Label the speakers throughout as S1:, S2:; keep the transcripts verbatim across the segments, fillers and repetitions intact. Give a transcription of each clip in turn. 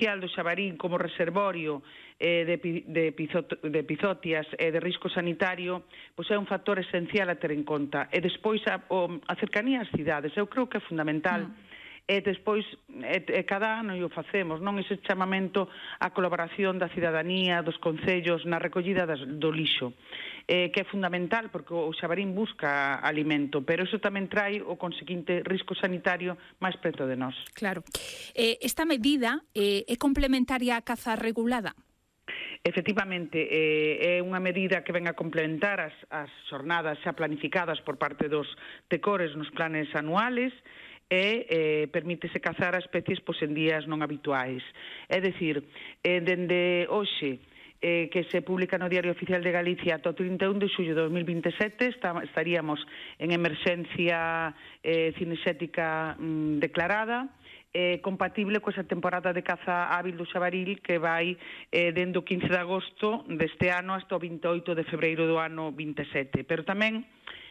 S1: do Xabarín como reservorio eh, de, de, pizot, de epizotias e de risco sanitario, pois é un factor esencial a ter en conta. E despois a, o, a cercanía ás cidades, eu creo que é fundamental. Mm. E despois, e, e cada ano o facemos, non ese chamamento á colaboración da cidadanía, dos concellos, na recollida das, do lixo, eh, que é fundamental, porque o Xabarín busca alimento, pero iso tamén trae o conseguinte risco sanitario máis preto de nós.
S2: Claro. Eh, esta medida eh, é complementaria á caza regulada?
S1: Efectivamente, eh, é unha medida que ven a complementar as, as xornadas xa planificadas por parte dos tecores nos planes anuales, e eh, permítese cazar a especies pois, en días non habituais. É dicir, eh, dende hoxe, eh, que se publica no Diario Oficial de Galicia ata o trinta e un de xullo de dos mil vinte e sete, está, estaríamos en emerxencia eh, cinexética mm, declarada, eh, compatible coa temporada de caza hábil do xabaril que vai eh, dende o quince de agosto deste ano hasta o vinte e oito de febreiro do ano vinte e sete. Pero tamén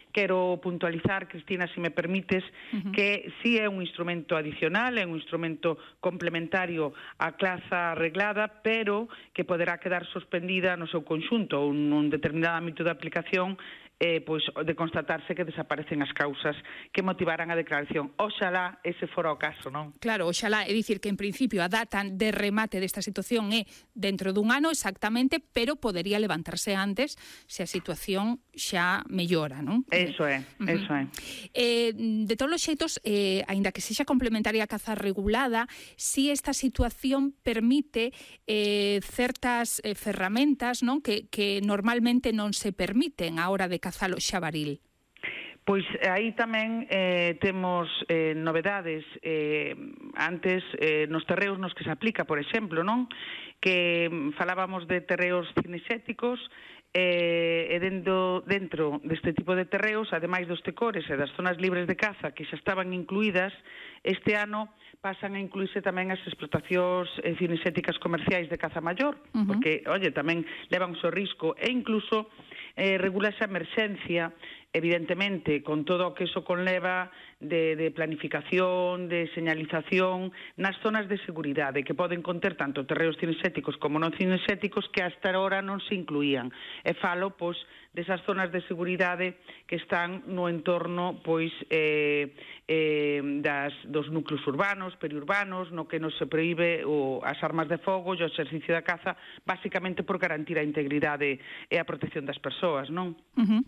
S1: quero puntualizar, Cristina, se me permites, uh-huh. que si é un instrumento adicional, é un instrumento complementario á caza reglada, pero que poderá quedar suspendida no seu conxunto ou nun determinado ámbito de aplicación eh, pois, de constatarse que desaparecen as causas que motivaran a declaración. Oxalá ese fora o caso, non?
S2: Claro, oxalá, é dicir que en principio a data de remate desta situación é dentro dun ano exactamente, pero podería levantarse antes se a situación xa mellora, non?
S1: Eso é, uh-huh. eso é.
S2: Eh, de todos os xeitos, eh, aínda que sexa complementaria a caza regulada, si esta situación permite eh, certas eh, ferramentas, non, que, que normalmente non se permiten á hora de cazar o xabaril.
S1: Pois aí tamén eh, temos eh, novedades. Eh, antes, eh, nos terreos nos que se aplica, por exemplo, non? Que falábamos de terreos cinexéticos, e dentro, dentro deste tipo de terreos, ademais dos tecores e das zonas libres de caza que xa estaban incluídas, este ano pasan a incluírse tamén as explotacións eh, cinexéticas comerciais de caza maior, uh-huh. porque, oye, tamén levan o seu risco, e incluso eh, regula esa emerxencia, evidentemente, con todo o que eso conleva de, de planificación, de señalización nas zonas de seguridade, que poden conter tanto terreos cinexéticos como non cinexéticos que hasta ahora non se incluían. E falo, pois, desas zonas de seguridade que están no entorno, pois, eh, eh, das, dos núcleos urbanos, periurbanos, no que non se proíbe o, as armas de fogo e o exercicio da caza, basicamente por garantir a integridade e a protección das persoas, non?
S2: Uh-huh.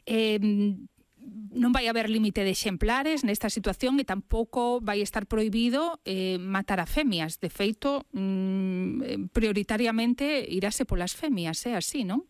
S2: Eh, non vai haber límite de exemplares nesta situación e tampouco vai estar prohibido eh, matar a femias. De feito, mm, prioritariamente irase polas femias, é así, non?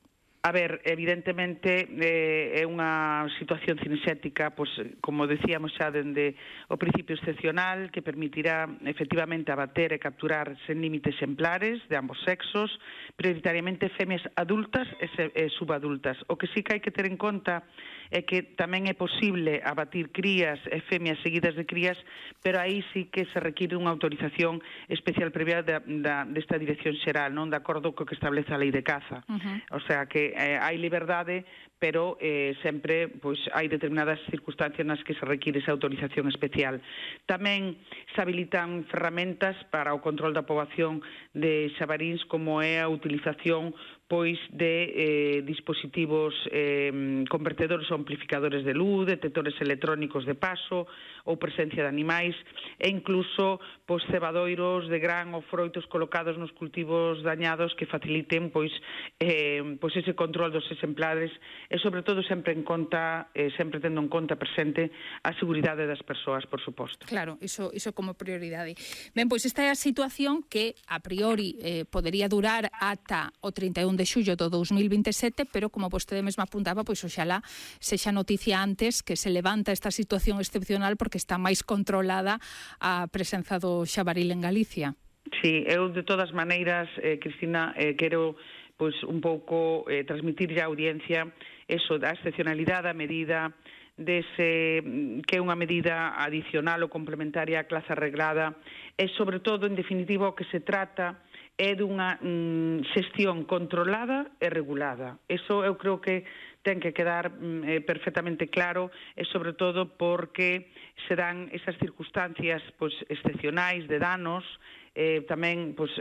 S1: A ver, evidentemente eh, é unha situación cinexética, pois, como decíamos xa dende o principio excepcional, que permitirá efectivamente abater e capturar sen límite exemplares de ambos sexos, prioritariamente femias adultas e, se, e subadultas. O que sí que hai que ter en conta é que tamén é posible abatir crías e femias seguidas de crías, pero aí sí que se require unha autorización especial previa da, da, desta dirección xeral, non de acordo co que establece a lei de caza. Uh-huh. O sea que eh, hai liberdade, pero eh, sempre pois, hai determinadas circunstancias nas que se require esa autorización especial. Tamén se habilitan ferramentas para o control da poboación de xabaríns, como é a utilización pois de eh, dispositivos eh, convertedores ou amplificadores de luz, detectores electrónicos de paso ou presencia de animais, e incluso pois, cebadoiros de gran ou froitos colocados nos cultivos dañados que faciliten pois, eh, pois ese control dos exemplares e, sobre todo, sempre en conta, eh, sempre tendo en conta presente a seguridade das persoas, por suposto.
S2: Claro, iso, iso como prioridade. Ben, pois esta é a situación que a priori eh, podería durar ata o trinta e un de xullo do dos mil vinte e sete, pero como vostede mesma apuntaba, pois oxalá sexa noticia antes que se levanta esta situación excepcional porque está máis controlada a presenza do xabaril en Galicia.
S1: Sí, eu de todas maneiras, eh, Cristina, eh, quero pois un pouco eh, transmitir a audiencia eso da excepcionalidade, a medida dese que é unha medida adicional ou complementaria á clase arreglada, e sobre todo, en definitiva, o que se trata é dunha mm, xestión controlada e regulada. Eso eu creo que ten que quedar eh, perfectamente claro, e sobre todo porque se dan esas circunstancias pois, excepcionais de danos, eh, tamén pois,